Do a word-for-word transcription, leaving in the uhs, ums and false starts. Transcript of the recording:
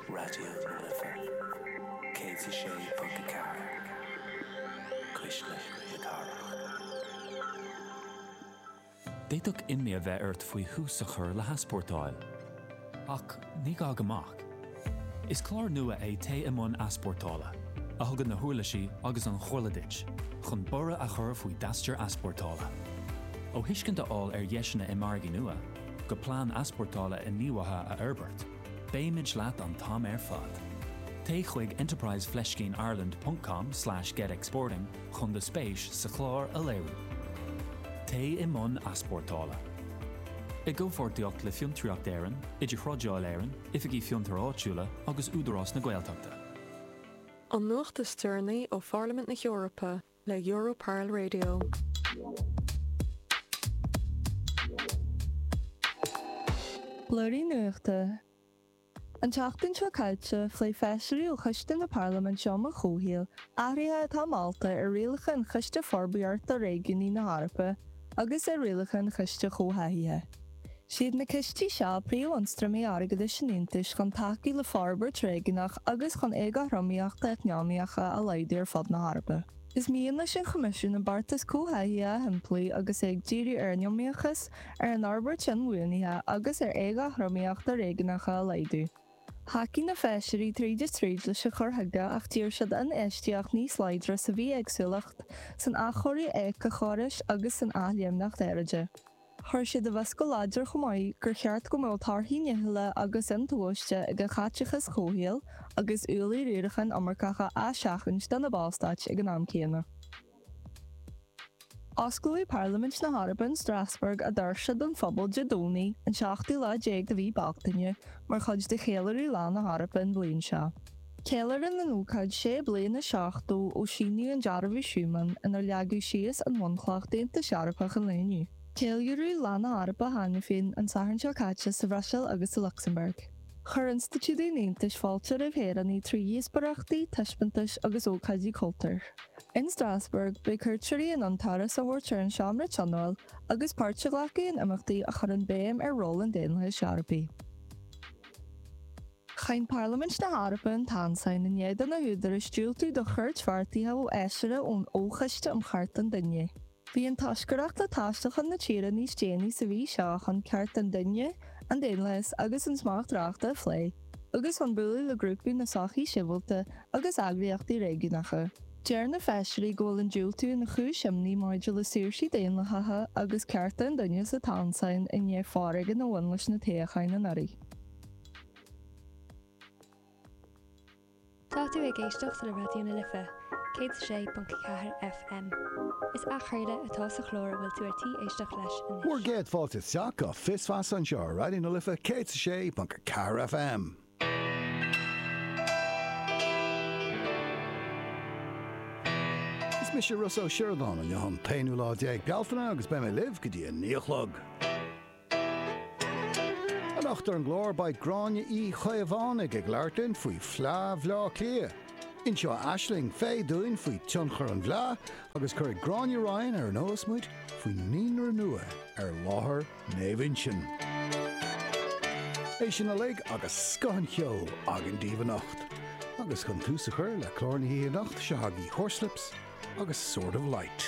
Raidió na Life céad a sé ponc a ceathair Cuisle na Cathrach. D'fhéadfadh imní a bheith ort faoi thús a chur le heaspórtáil. Ach ní gá go mbeadh. Is clár nua é Téigh i mbun Easpórtála, a thugann na huirlisí agus an chomhairle duit, chun borradh a chur faoi d'aistear easpórtála. Ó thuiscint a fháil ar dheiseanna i margaí nua, go plean easpórtála inghníomhaithe a fhorbairt, beimid leat an t-am ar fad. Téigh chuig enterprise fleiscín Ireland ponc com slash get exporting chun do spéis sa chlár a léiriú. Téigh i mbun easpórtála. I gcomhpháirtíocht le Fiontraíocht Éireann, Idirthrádáil Éireann, Oifigí Fiontair Áitiúla agus Údarás na Gaeltachta. An nuacht is deireanaí ó Pharlaimint na hEorpa le Europarl Radio. Blúirí Nuachta. An tseachtain seo caite, phléigh feisirí ó Choiste na Parlaiminte um an Chomhshaol athruithe atá molta ar rialacha an Chiste Forbartha Réigiúnaí na hEorpa agus ar rialacha an Chiste Chomhtháthaithe. Siad na cistí seo príomhionstraimí airgeadais an Aontais chun tacú le forbairt réigiúnach agus chun éagothromaíochtaí eacnamaíocha a laghdú ar fud na hEorpa. Is mian leis an Choimisiún an beartas comhtháthaithe a shimpliú agus é ag díriú ar an iomaíochas, ar an fhorbairt inbhuanaithe agus ar éagothromaíochtaí réigiúnacha a laghdú. Thacaigh na feisirí tríd is tríd leis an chur chuige ach d'iarr siad infheistíocht níos láidre sa bhithéagsúlacht, san athchóiriú éiceachórais agus san athléimneacht aeráide. Chuir siad i bhfios go láidir chomh maith gur cheart go mbeadh torthaí nithiúla agus intomhaiste ag an chaiteachas comhshaoil agus ualaí riaracháin iomarcacha á seachaint do na Ballstáit ag an am céanna. Osclóidh Parlaimint na hEorpa in Strasbourg a doirse don phobal Dé Domhnaigh, an seachtú lá déag de mhí Bealtaine, mar chuid de cheiliúradh Lá na hEorpa an bhliain seo. Ceiliúrann an ócáid sé bliana is seachtó ó síníodh an Dearbhú Schuman inar leagadh síos an bhunchloch d'Aontas Eorpach an lae inniu. Ceiliúradh Lá na hEorpa cheana féin an Satharn seo caite sa Bhruiséil agus sa Lucsamburg. Chuir institiúidí an Aontais fáilte roimh shaoránaigh trí dhíospóireachtaí, taispeántais agus ócáidí cultúir. In Strasbourg, beidh cuairteoirí in ann turas a thabhairt ar an Seomra Tionóil agus páirt a ghlacadh in imeachtaí a chuireann béim ar ról an daonlathais Eorpaigh. Cháin Parlaimint na hEorpa an Tansáin i ndiaidh do na húdaráis diúltú do chuairt bheartaithe ó fheisire ón Fhochoiste um Chearta an Duine. Bhí an toscaireacht le taisteal chun na tíre níos déanaí sa mhí seo chun cearta an duine, an daonlathas agus an smacht reachta a phlé, agus chun bualadh le grúpaí na sochaí sibhialta agus eagraíochtaí réigiúnacha. Deir na feisirí go bhfuil an diúltú ina chúis imní maidir le saoirsí daonlathacha agus cearta an duine sa Tansáin i ndiaidh foréigean a bhain leis na toghcháin anuraidh. Tá tú ag éisteacht le Raidió na Life, céad is a sé ponc ceathair FM. Is athchraoladh atá sa chlár a bhfuil tú ar tí éisteacht leis anois. Bhur gcéad fáilte isteach go Fios Feasa anseo ar Raidió na Life céad is a sé ponc ceathair FM. Is mise Rossa Ó Sioradáin, inniu an t-aonú lá déag Bealtaine agus beidh mé libh go dtí a naoi a chlog. Anocht ar an gclár beidh Gráinne Uí Chaomhánaigh ag labhairt linn faoi Fleá Bhaile Átha Cliath. Inseoidh Aisling Fay dúinn faoi tionchar an bhleá agus cuirfidh Gráinne Ryan ar an eolas muid faoin naíonra nua ar láthair Naomh Uinseann. É sin uilig agus scoth an cheoil againn daoibh anocht. Agus chun tús a chur le clár na hoíche anocht, seo agaibh Horslips agus Sword of Light.